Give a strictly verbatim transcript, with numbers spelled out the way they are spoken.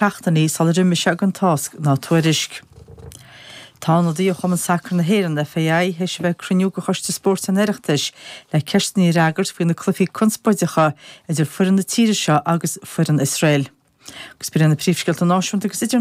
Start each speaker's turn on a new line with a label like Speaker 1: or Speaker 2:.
Speaker 1: seachtainí sular imigh sé gan tásc ná tuairisc. Tá ionadaí ó Chumann Sacair na hÉireann FAI théis a bheith ag cruinniú de Choiste Spóirt an Oireachtais le ceisteanna a fhreagairt faoi na cluichí conspóideacha idir foireann na tíre seo agus foireann Iosrael. Agus b'in na príomhscéalta náisiúnta agus idir